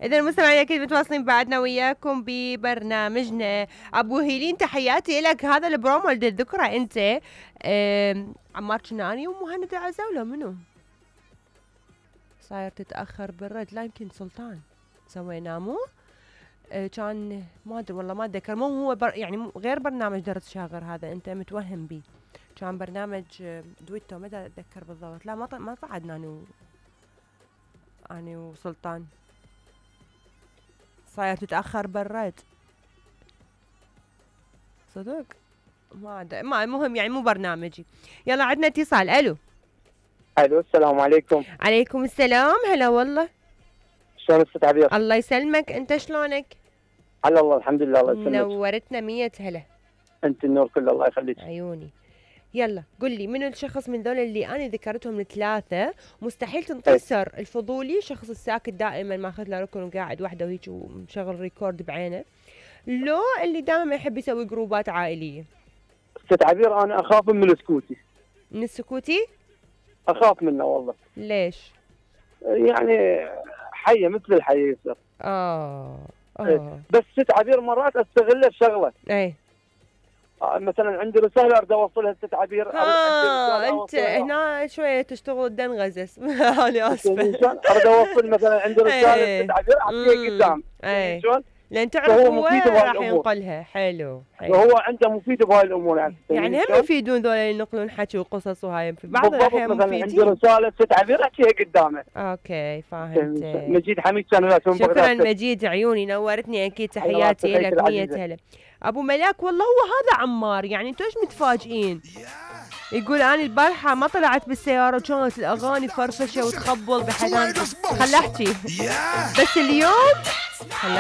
إذا المستمعين أكيد متواصلين بعدنا وياكم ببرنامجنا. أبو هيلين تحياتي لك. هذا البرومو اللي تذكره أنت عمار كناني ومهند العزاولة منو صاير تتأخر بالرد؟ لا يمكن سلطان سويناه مو كان ما أدري والله ما أتذكر. مو هو يعني غير برنامج درس شاغر هذا أنت متوهم بيه. كان برنامج دويتو متى أتذكر بالضبط. لا ما صعدنا أنا وسلطان. صاير تتأخر بالرد صدق ما المهم يعني مو برنامجي. يلا عندنا اتصال. الو السلام عليكم. عليكم السلام. هلا والله. شلون استاذ عبير؟ الله يسلمك. انت شلونك؟ على الله الحمد لله. الله يسلمك. نورتنا 100 هلا. انت النور كله الله يخليك. عيوني. يلا قل لي منو الشخص من ذول اللي انا ذكرتهم الثلاثه مستحيل تنكسر الفضولي، شخص الساكت دائما ماخذ له ركن وقاعد وحده وهيك ومشغل ريكورد بعينه، لو اللي دائما يحب يسوي جروبات عائليه؟ استاذ عبير انا اخاف من السكوتي. من السكوتي؟ اخاف منه والله. ليش؟ يعني حيه مثل الحيه يصير. بس ست عبير مرات استغله بشغله. اي مثلا عندي رساله اريد اوصلها ست عبير. انت هنا شويه تشتغل دنغزس. انا اسفه. اريد اوصل مثلا عندي رساله ست عبير اعطيها قدام. شلون؟ لان تعرف هو راح ينقلها. حلو. وهو عنده مفيد بهاي الامور يعني هم يفيدون ذول اللي ينقلون حكي وقصص وهاي في بعض الاحيان مفيدين. عندي رساله ست عبير احكيها قدامه. اوكي فهمت. مجيد حميد كان شكرا مجيد عيوني نورتني اكيد. تحياتي لك 100 هلا. ابو ملاك والله هو هذا عمار. يعني انتوا ايش متفاجئين؟ يقول انا البارحه ما طلعت بالسياره وكانت الاغاني فرفشه وتخبل بحيث خل احكي بس اليوم